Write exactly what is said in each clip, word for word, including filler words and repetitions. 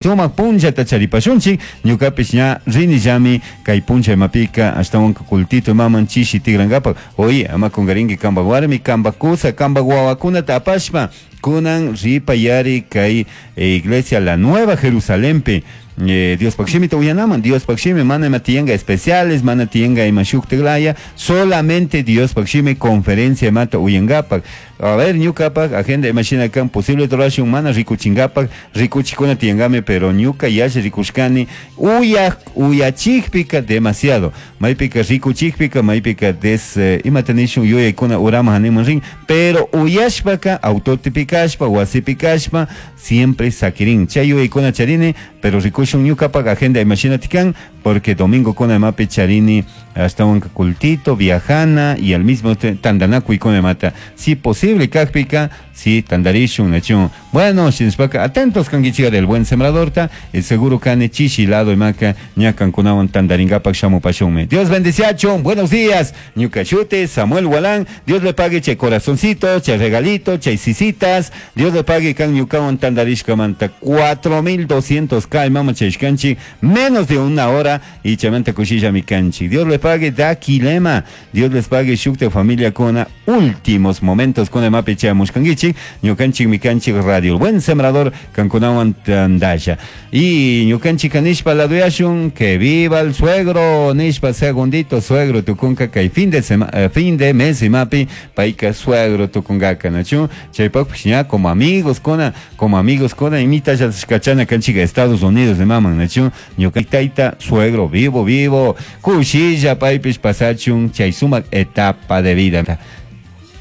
Sumak punllata charipashunchik ñukapish ña rinillami kay punlla imapika ashtawanka cultito imaman chishi tigrankapak. Oye, ama kungarinki kampak warmi, kampak kusa, kampak wawakunata apashpa kunan ripayari kay iglesia La Nueva Jerusalenpi eh, Diospak shimita uyanaman. Diospak shimi mana ima tiyanka especiales, mana tiyanka ima shuktiklaya, solamente Diospak shimi conferencia imata uyankapak. A ver, ñukapak agenda imashina kan, posible rurashun mana rikuchinkapak, rikuchikuna tiyankami, pero ñuka yalli rikushkani uyak uyachikpika demasiado, maypika rikuchikpika maypika des eh, imata nishun yuyaykuna urama haniman rin, pero uyashpaka autotipi kashpa wasipi kashpa siempre sakirin chay yuyaykuna charini, pero rikushun ñukapak agenda imashina tikan, porque domingo kuna imapi charini ashtawanka cultito viajana y al mismo tandanakuykuna imata, si posible kakpika si tandarishun nachun. Bueno, shinashpaka atentos kankichik del Buen Sembradorta, el seguro kani chishi lado imaka ña kankunawan tandarinkapak shamupashunmi. Dios bendiciachun, buenos días, ñuka shuti Samuel Walán, Dios le pague chay corazoncito, chay regalito, chay sisitas, Dios le pague kan ñukawan tandarishkamanta cuatro mil doscientos k imama chayshkanchik, menos de una hora y chaymanta kushillami kanchik. Dios le pague da kilema, Dios les pague shukta familia kuna últimos momentos kuna imapi chayamushkankichik, ñukanchik mikanchik radio El Buen Sembrador kankunawan tandasha. Y ñukanchik nishpa laduyashun, que viva el suegro, nishpa segundito suegro tukunka kay fin de sema, eh, fin de mes imapi payka suegro tukunkaka nachu, chaypakpish ña como amigos kuna, como amigos kuna imita kachana kanchik Estados Unidos de maman nachu, ñuka tayta suegro vivo vivo, kushilla paypish pasachun chay sumak etapa de vida.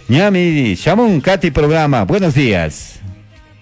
Ñami, shamun kati programa, buenos días.